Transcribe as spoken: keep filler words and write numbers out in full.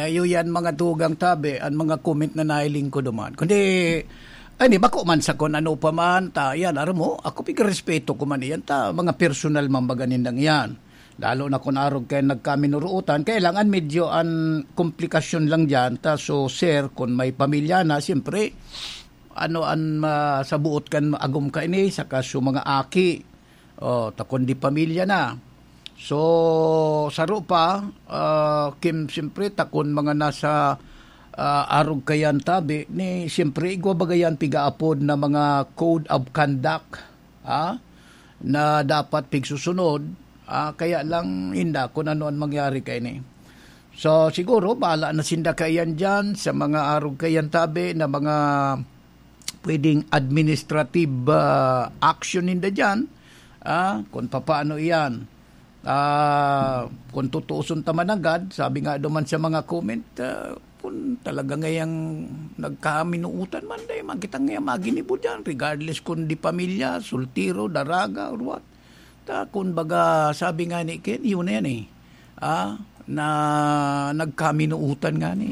Ayo yan, mga tugang tabi, an mga comment na nahiling ko duman. Kundi, ani, bako man sa kun ano pa man, ta, yan, aram mo, ako pigrespeto ko man iyan, ta, mga personal man baga nindang iyan. Lalo na kun arog kay nagkaminuruotan, kailangan medyo an komplikasyon lang diyan, ta, so, sir, kun may pamilya na, siyempre, ano an masabuot kan agom ka ini, saka so mga aki, oh, ta kun di pamilya na. So, saro pa, ah, kim-, siyempre, ta kun mga nasa, ah, arog kayan tabi, ni, siyempre, igwa baga yan pigaapod na mga code of conduct, ha? Na dapat pigsusunod, ah, kaya lang inda kun ano an mangyari kaini. So, siguro, bahala na sinda kaiyan diyan sa mga arog kaiyan tabi na mga pwedeng administrative, ah, action ninda diyan, ah, kun papaano iyan. Ah, kun tutuuson ta managad, sabi nga duman sa mga comment, ah, kun talaga ngayang nagkaminuutan man, dai man kita ngaya maginibo diyan, regardless kun di pamilya, soltero, daraga, or what. Ta, kun baga, sabi nga ni Ken, yun na yan eh. Ah, na nagkaminuutan nga ni.